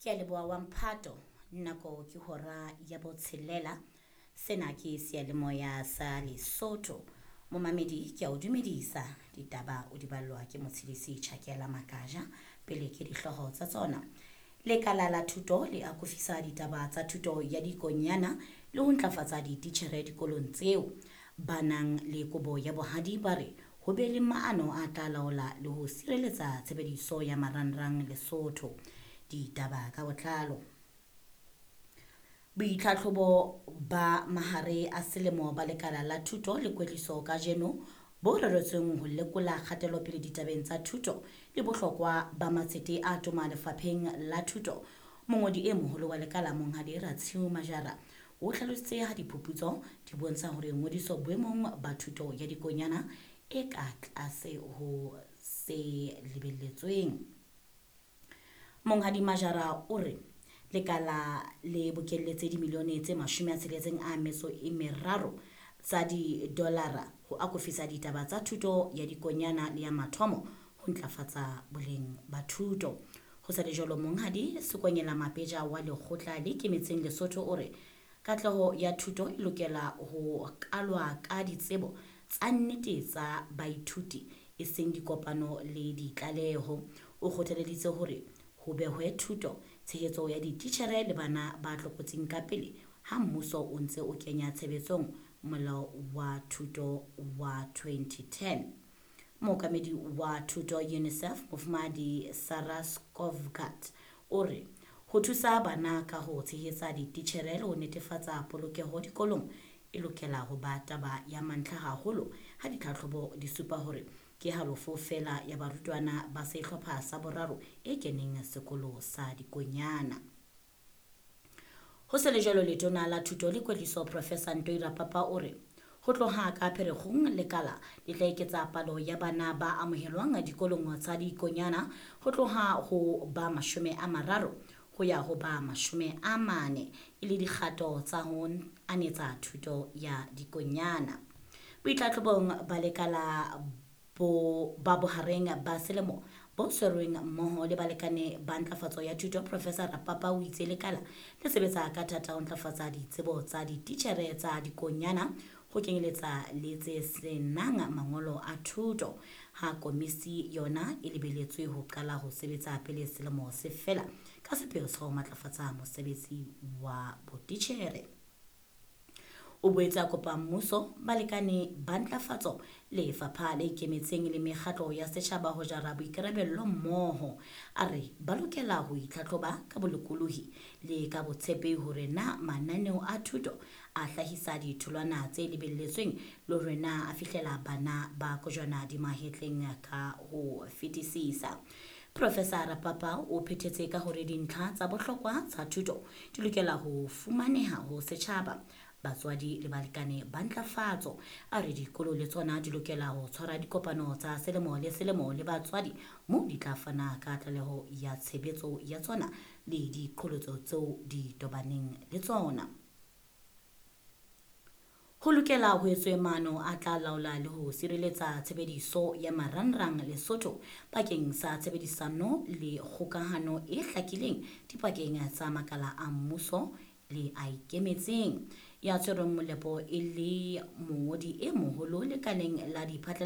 Ke a leboha wa mphato nako ke hora ya botshelela. Sena ke seyalemoya sa Lesotho. Momamedi ke a o dumedisa ditaba o di ballwa ke motshedisi Tjhakela Makaja pele ke dihlooho tsa tsona. Lekala la thuto le akofisa ditaba tsa thuto ya dikonyana le ho ntlafatsa dititjhere dikolong tseo. Ba nang le kobo ya bohadi ba re ho be le maano a tla laola le ho sireletsa tshebediso ya marangrang Lesotho. Ditaba ka botlalo. Boitlhatlhobo ba mahare a selemo ba lekala la thuto le kwetliso kajeno bo reretsweng ho lekola kgatelopele ditabeng tsa thuto le bohlokwa ba matsete a toma lefapheng la thuto. Mongodi e moholo wa lekala Monghadi Ratshiu Majara o hlalositse ha diphuputso di bontsha hore ngodiso boemong ba thuto ya dikonyana e ka tlase ho se lebelletsweng. Monghadi Majara o re lekala le bokelletse dimilione tse 63 tsa didolara ho akofisa ditaba tsa thuto ya dikonyana le ya mathomo ho ntlafatsa boleng ba thuto. Ho sa le jwalo Monghadi Sekonyela Mapeja wa lekgotla le ikemetseng Lesotho o re katleho ya thuto e lokela ho kalwa ka ditsebo tsa nnete tsa baithuti e seng dikopano le ditlaleho. O kgothaleditse hore ho behwe thuto, tshehetso ya dititjhere le bana ba tlokotsing ka pele ha mmuso o ntse o kenya tshebetsong molao wa thuto wa 2010. Mookamedi wa thuto UNICEF Mofumahadi Sarah Skovgaard o re ho thusa bana ka ho tshehetsa dititjhere le ho netefatsa polokeho dikolong e lokela ho ba taba ya mantlha haholo ha ditlhatlhobo di supa hore ke halofo feela ya barutwana ba sehlopha sa boraro e keneng sekolo sa dikonyana. Ho se le jwalo letona la thuto le kwetliso Professor Ntoi Rapapa o re ho tloha ka Pherekgong lekala le tla eketsa palo ya bana ba amohelwang dikolong tsa dikonyana ho tloha ho ba 30 ho ya ho ba 40 e le dikgato tsa ho anetsa thuto ya dikonyana. Boitlhatlhobong ba lekala ba bohareng ba selemo bo tshwerweng mmoho le balekane ba ntlafatso ya thuto Professor Rapapa o itse lekala le sebetsa ka thata ho ntlafatsa ditsebo tsa dititjhere tsa dikonyana ho kenyeletsa le tse senang mangolo a thuto. Ha komisi yona e lebeletswe ho qala ho sebetsa pele selemo se fela ka sepheo sa ho matlafatsa mosebetsi wa botitjhere. O boetse a kopa mmuso, balekane ba ntlafatso, lefapha le ikemetseng le mekgatlo ya setjhaba ho jara boikarabello mmoho. A re ba lokela ho itlhatlhoba ka bolokolohi le ka botshepehi hore na mananeo a thuto a hlahisa ditholwana tse lebelletsweng le hore na a fihlela bana ba kojwana di mahetleng ka ho fetisisa. Professor Rapapa o phethetse ka hore dintlha tsa bohlokwa tsa thuto di lokela ho fumaneha ho setjhaba, batswadi le balekane ba ntlafatso. A re dikolo le tsona di lokela ho tshwara dikopano tsa selemo le selemo le batswadi moo di tla fana ka tlaleho ya tshebetso ya tsona le diqholotso tseo di tobaneng le tsona. Ho lokela ho etswe maano a tla laola le ho sireletsa tshebediso ya marangrang Lesotho bakeng sa tshebedisano le kgokahano e hlakileng dipakeng tsa makala a mmuso le a ikemetseng. Ya tshwerweng molepo e le mongodi e moholo lekaleng la diphatlalatso.